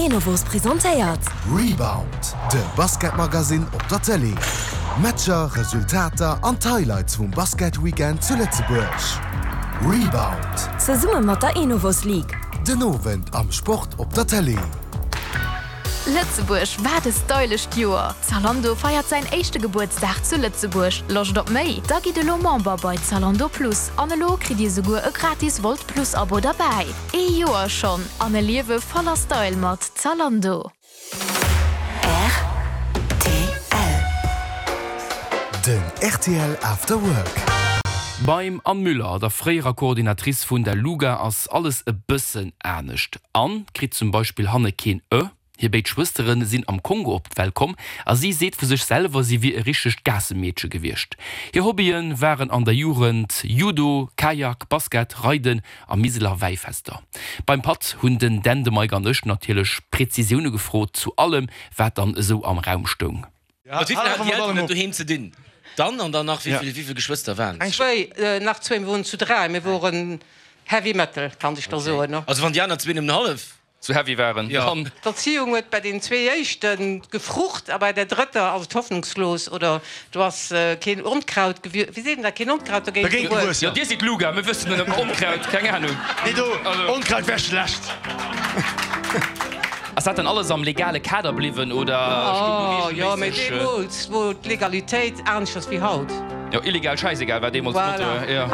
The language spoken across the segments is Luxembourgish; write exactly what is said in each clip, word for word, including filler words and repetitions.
Enovos presentéiert. Rebound, de Basketmagazin op der Tëlee. Matcher, Resultater an d'Highlights vum Basketweekend zu Lëtzebuerg. Rebound. Zesumme mat der Enovos League. Den Owend am Sport op der Tëlee. Lëtzebuerg, wat e stylescht Joer! Zalando feiert säin éischte Gebuertsdag zu Lëtzebuerg. Loscht op méi? Da gitt elo Member bei Zalando Plus an elo kritt Dir souguer e gratis Wolt Plus Abo derbäi. Ee Joer schonn an e Liewe voller Style mat Zalando. Rtl. Den rtl After Work. Beim Anne Müller, der fréierer Coordinatrice vun der Luga, ass alles e bëssen anescht. Anne kritt zum Beispill hanne keen Ë, hir béid Schwëstere sinn am Kongo op d'Welt komm a si seet vu sech selwer, si wier e richtegt Gaassemeedche gewiescht. Hir Hobbye waren an der Jugend Judo, Kajak, Basket, Reiden a Miseler Wäifester. Beim Patt hunn den Dan, de Mike an ech natierlech Prezisioune gefrot zu allem, wat dann esou am Raum stoung. Mat wéi vill haten déi Elteren et doheem ze dinn? Dann an dann nach wéi vill, wéi vill Geschwëster waren et? Zwéi, nach zwéi, mir woren zu dräi, mir woren Heavy Metal, kann ech der soen. Also wann déi aner zwee nëmmen hallef. Sou heavy waren, dann. D'Erzieung huet bei den zwee éischte gefrucht a bei der drëtter ass et hoffnungslos oder do ass keen Onkraut gewier, wéi seet een dat, keen Onkraut dogéint gewuess. Jo, dir sidd Luga, mir wëssen net ëm Onkraut, keng Ahnung. Nee, do, Onkraut wär schlecht. Ass dat dann alles am legale Kader bliwwen oder stoung do Jo, mee reegelméisseg. deemools wor d'Legalitéit aneschters wéi haut. Jo, illegal, schäisegal war deemools d'Motto, Voilà. jo.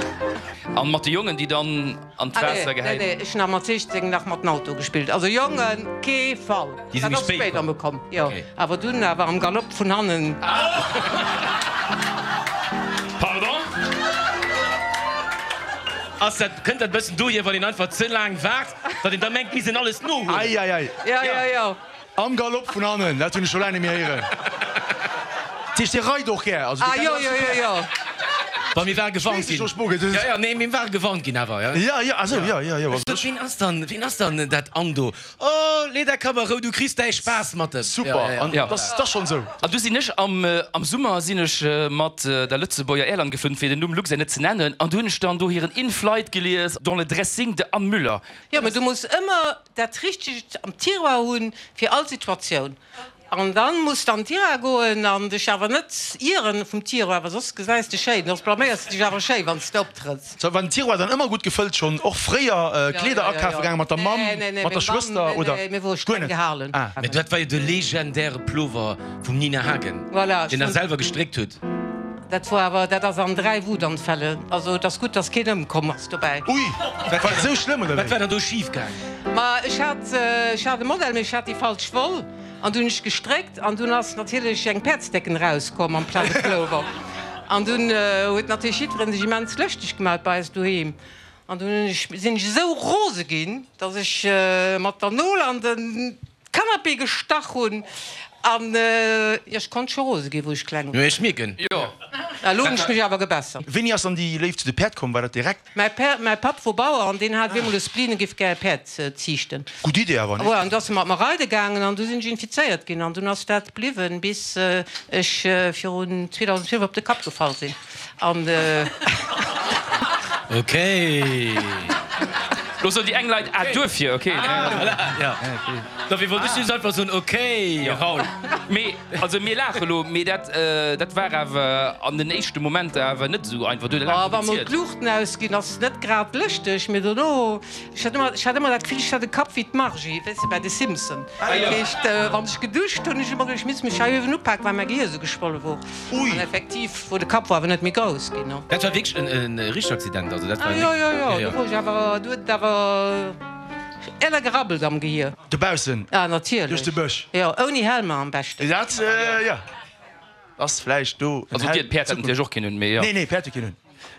An mat de Jongen, déi dann an Ah d'Waasser nee, nee, gehäit. nee, ech hunn nach mat sichzéng nach mat den Auto gespillt. Also Jongen, kee Fall. Déi si Dat méi ass spéit spéider komm. mol komm, jo. Okay. Awer dunn awer am Galopp vun hannen. Pardon? Ass dat, kënnt dat bëssen dohier, wann een einfach ze laang waart, datt een da mengt, misst een alles nohuelen? Ei, ei, ei. Jo, jo, jo. Am Galopp vun hannen, dat hunn ech scho laang net méi héieren. Dat heescht, Dir reit och gär? Also, Ah, jo, jo, jo, jo. Wa mir ware gewarnt ginn. Jo, jo, nee, mir ware gewarnt ginn awer, jo. Jo, jo, ah sou, jo, jo, jo. Ech sot, Ween ass dann, ween ass dann dat Anne do? Oh, lee däi Kapp a Rou, du kriss däi Spaass mat em. Super, an dat ass schonn esou. An du sinn ech am, am Summer sinn ech mat der Lëtzebuerger Airline geflunn, fir den Numm Luxair net ze nennen, an du hunn ech dann do hiren In-Flight gelies, Dans le dressing de Anne Müller. Jo, mä du muss ëmmer dat Richtegt am Tiroir hunn fir all Situatioun. An dann muss de an den Tiroir goen an dech awer net ieren vum Tiroir, well soss gesäis de schéin, soss blaméiers de dech awer schéi wann s de optrëtts. Sou, war den Tiroir dann ëmmer gutt gefëllt schonn, och fréier Kleeder akafe gaangen mat der Mamm, mat der Schwëster oder guer net? Ah. Mä dat war jo de legendäre Plover vum Nina Hagen, deen der selwer gestréckt hutt. Dat wor awer, dat ass an dräi Wutanfälle, also et ass gutt, dass keen ëmkomm ass dobäi. Ui, dat war esou schlëmm oder wéi? Wat war dann do schif gaangen? Ma ech hat, ech hat e Modell, mee ech hat déi falsch Woll an dunn hunn ech gestréckt an dunn ass natierlech eng Päerdsdecken erauskomm amplaz e Plover an dunn huet natierlech jiddwereen sech immens lëschteg gemaat bei eis doheem an dunn hunn ech, sinn ech esou rose ginn, dass ech mat der Nol an de Canapé gestach hunn an jo, ech konnt scho rose ginn, wou ech kleng Jo, ech mierken. Jo. Elo hunn ech mech awer gebessert. Wéini ass dann déi Léift zu de Päerd komm? War dat direkt? Mäi Pär, mäi Papp wor Bauer an deen hat op eemol e Spleen, e giff gär e Päerd ziichten. Gutt Idee awer, nicht? An du ass e mat mer reide gaangen an du sinn ech infizéiert ginn an dunn ass dat bliwwen, bis ech virun zweedausendzwielef op de Kapp gefall sinn an. Okay. Lo soen déi eng Leit, ah duerfir, ok. Voilà, jo. Dofir wollt ech just einfach soen, ok, Raoul. Mee, also mir laache lo, mee dat, dat war awer an den éischte Momenter awer net esou einfach. Du huet laang Wa mol kompliziert. d'Luuchten ausginn, ass et net grad lëschteg, mee dono, ech hat ëmmer, ech hat ëmmer dat Gefill, ech hätt e Kapp wéi d'Margie, weess de, bei de Simpson. Dat heescht, wann ech geduscht hunn, hunn ech ëmmer geduecht, ech misst mech hei uewen upaken, well mäi Gehier esou geschwolle wor. Ui. An effektiv wor de Kapp wor awer net méi grouss ginn. Dat war wierklech en richtegt Accident, also dat war Ah jo, jo, jo, do wor ech awer, do huet et awer elle gerabbelt am Gehier. Dobaussen? Ah natierlech. Duerch de Bësch? Jo, ouni Helmer am beschten. Dat, jo, ass vläicht do en Also Helm. Päerd hätt natierlech och keen hunn, mee jo. Nee, nee, Päerd huet keen hunn.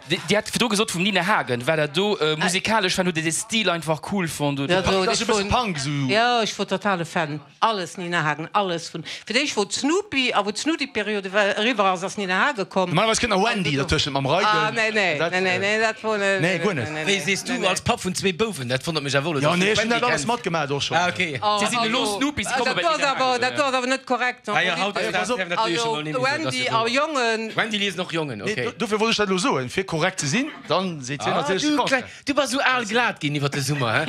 Dir hat virdru gesot vum Nina Hagen, war dat do musikalesch fan, hutt Dir de Stil einfach cool fonnt oder? Dat ass e bësse Punk esou. Jo, ech wor totale Fan. Alles Nina Hagen, alles vun. Fir d'éischt wor d'Snoopy a wou d'Snoopy-Periode eriwwer ass, ass Nina Hagen komm. Normalerweis kënnt nach Wendy dertëschent mam Reiden. Ah nee, nee, nee, nee, nee, dat wor net. Nee, guer net. Wéi sees du als Papp vun zwee Bouwen? Dat wonnert mech awer elo, Jo, dass du nee, ech hunn d'Wendy dat alles kenns. matgemaach och schonn. Ah, okay. Si sinn elo Snoopy, si komme bei Dat d'Nina Hagen. do ass awer net korrekt. Ah jo, haut ass dat natierlech emol net méi esou, dass Wendy du a do. Jongen. Wendy liesen och Jongen, okay. Nee, dofir wollt ech dat elo soen, fir korrekt ze sinn, dann seet hien Ah, natierlech du de Contraire. kleng, du bass esou al glat ginn iwwer de Summer, hä?